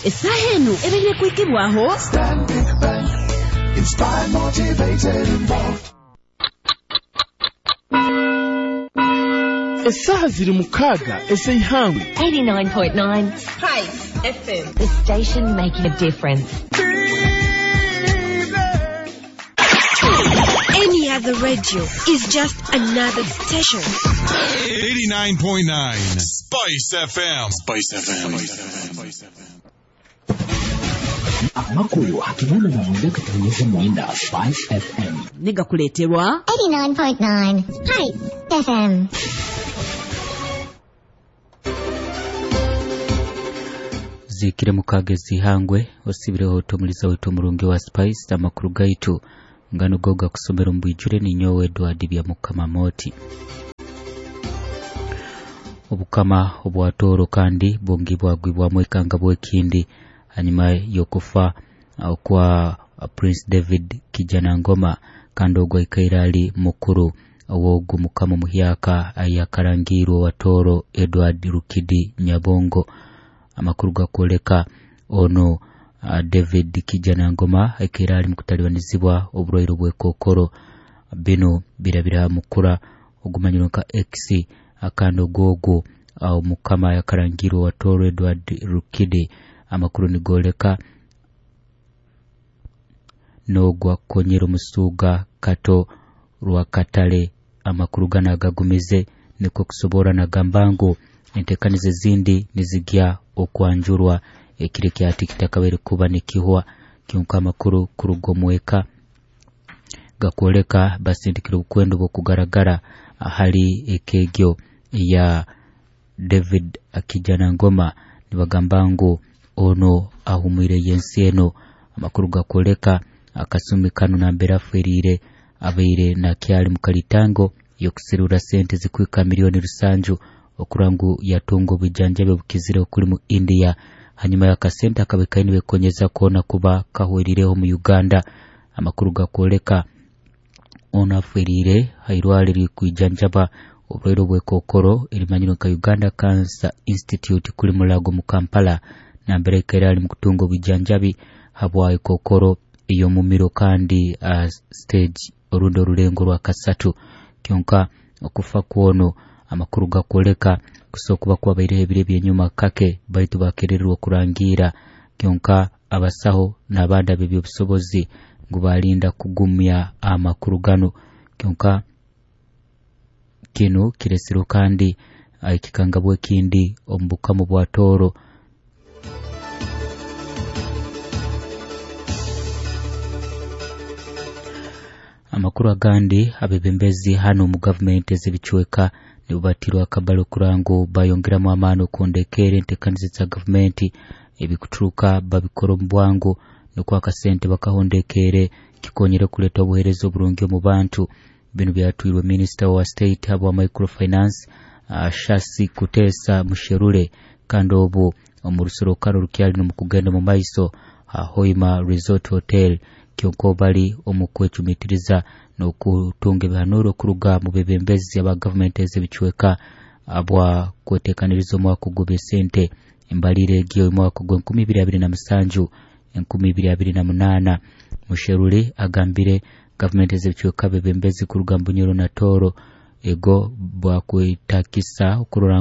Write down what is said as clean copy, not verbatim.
Essaaha eno ebaire kuhikibwaho Stanbic Bank. Inspired, motivated, involved. Essaaha ziri 6 ez'eihangwe. 89.9 Spice FM. The station making a difference. Any other radio is just another station. 89.9 Spice FM. Spice FM. Amakuru 89.9 Spice FM. Negakuleeterwa 89.9 Spice FM. Zikire mukaaga ezihangwe osibireho omuliza waitu omurungi wa Spice. Amakuru gaitu ngano go gakusomera omu bwijure ninyowe Edward Byamukama Moti. Obukama obwatooro kandi bungi bwagwibwamu ekanga bwekindi hanyuma y'okufa kwa Prince David Kijanangoma, kandi ogwo aikaire ali mukuru ow'ogu mukama muhyaka ayakarangirwe wa Tooro Edward Rukidi Nyabongo. Amakuru gakwoleka ono David Kijanangoma aikaire ali mukutalibanizibwa oburwaire bw'ekokoro. Bino birabira mukura ogumanyirwe nka X, akandi ogwogu omukama yakarangirwe wa Tooro Edward Rukidi. Amakuru nigoleka n'ogwa konyera omusuuga Kato Rwakatare. Amakuru gano agagumize nikwo kusobora nagamba ngu entekaniza ezindi nizigya okwanjurwa ekiro kyati kitakabaire kuba nikihwa. Kyonka amakuru kuruga omweka gakwoleka basindikire obukwendo bw'okugaragara ahali ekegyo ya David Kijanangoma, nibagamba ngu ono ahumwire yensi eno. Amakuru gakwoleka akasumi kano nambere afweriire abaire nakyali mukalitango yokusirura sente zikwika 7 million okurangu yatunga obujanjabi obukizire okuli mu India. Hanyuma y'akasente akabekaini bekonyeza kuona kuba kahwerireho mu Uganda. Amakuru gakwoleka ono afweriire hairwale rikwijanjaba oburwaire obwekokoro erimanyirwe nka Uganda Cancer Institute kuli Mulago mu Kampala, nambere aikaire ali mukutunga obujanjabi habwa ekokoro ey'omumiro kandi stage orundi orulengo rwa kasatu. Kyonka okufa kwono amakuru gakwoleka kusokuba kwabaireho ebiro ebyenyuma kake, baitu bakerererwa okurangiira. Kyonka abasaho n'abandi ab'ebyobusobozi ngu balinda kugumya amakuru gano. Kyonka kinu kiresirwe kandi ekikangabwa ekindi omu bukama bwa Tooro. Amakuru agandi, abebembezi hano mu gavumenti ez'ebicweka nibo batirwe akabalo kurangu bayongeramu amaani okundekera entekaniza za gavumenti ebikuturuka babikora omu bwangu nukwo akasente bakahondekere kikonyere kuleta obuheereza oburungi omu bantu. Bino byatwirwe Minister wa State habwa Microfinance Shasi Kutesa Musherure, kandi obu omu rusorokano rukyali nomukugenda mu maiso Hoima Resort Hotel. Kyonka bali omu kwecumitiriza n'okutunga ebihanuro kuruga mu bebembezi aba gavumenti ez'ebicweka abwa kwetekaniriza omwaka ogw'ebisente embalire egyo omwaka ogwa 2027 2028. Musherure agambire gavumenti ez'ebicweka bebembezi kuruga mu Bunyoro na Tooro ego bwakwetakisa okurora.